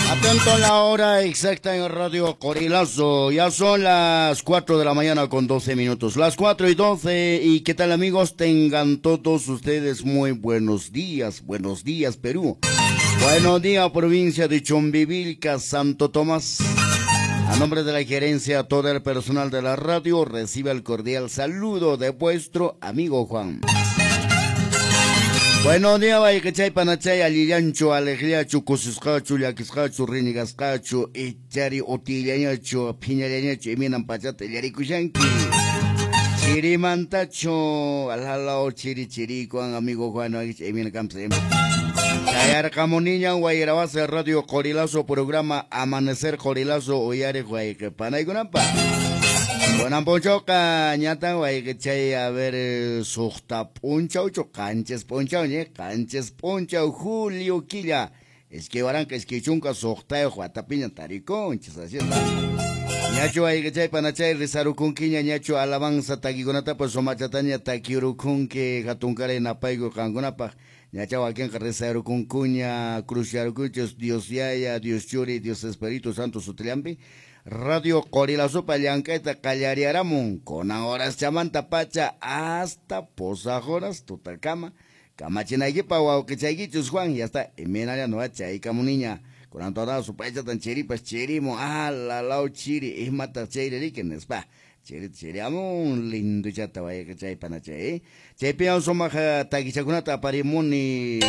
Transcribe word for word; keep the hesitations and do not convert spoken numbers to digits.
Atento a la hora exacta en Radio Qorilazo. Ya son las cuatro de la mañana con doce minutos. Las cuatro y doce. ¿Y qué tal, amigos? Tengan todos ustedes muy buenos días. Buenos días, Perú. Buenos días, provincia de Chumbivilcas, Santo Tomás. A nombre de la gerencia, todo el personal de la radio recibe el cordial saludo de vuestro amigo Juan. Buenos días, wayqichay, panachay, allillanchu, alegriachu, kusisqachu, llakisqachu, rinigasqachu, ichari utillañachu, phiñallañachu, imaynan pachata illarikushanki. Chirimantachu, alhalao chiri chirikuan, amigo Juan, imayna kanpas. Chayarqamuniñan wayrawasi Radio Qorilazo, programa Amanecer Qorilazo, uyariq wayqi panaykunapaq. Kunan p'unchawqa ñatan wayqichay, a ver, suqta p'unchawchu, qanchis p'unchaw, ñe, qanchis p'unchaw, julio killa, iskay waranqa iskay chunka suqtayuq watapiña tarikunchis, así está. Ñachu wayqichay panachay rizarukunkiña, ñachu alabanza takikunatapas sumachataña takirukunki, hatunkaray napayku qankunapaq. Ñacha wakinqa rizarukunkuña, cruzyarukunchis, Dios Yaya, Dios Churi, Dios Espíritu Santo sutillampi. Radio Qorilazopa llank'ayta qallariaramun, kunan horas chamanta pacha hasta pusaq horas tutakama. Kamachinaykipaq wawqichaykichus Juan, ya está, imaynalla nuqa chaykamuniña. Kunan toda supaychatan chiripas chirimun, ah, lalaw chiri, imataq chayri riki nispa. Chiri chiriamun, linduchata wayqichay panachay. Chaypiwan sumaq takichakunata aparimuni.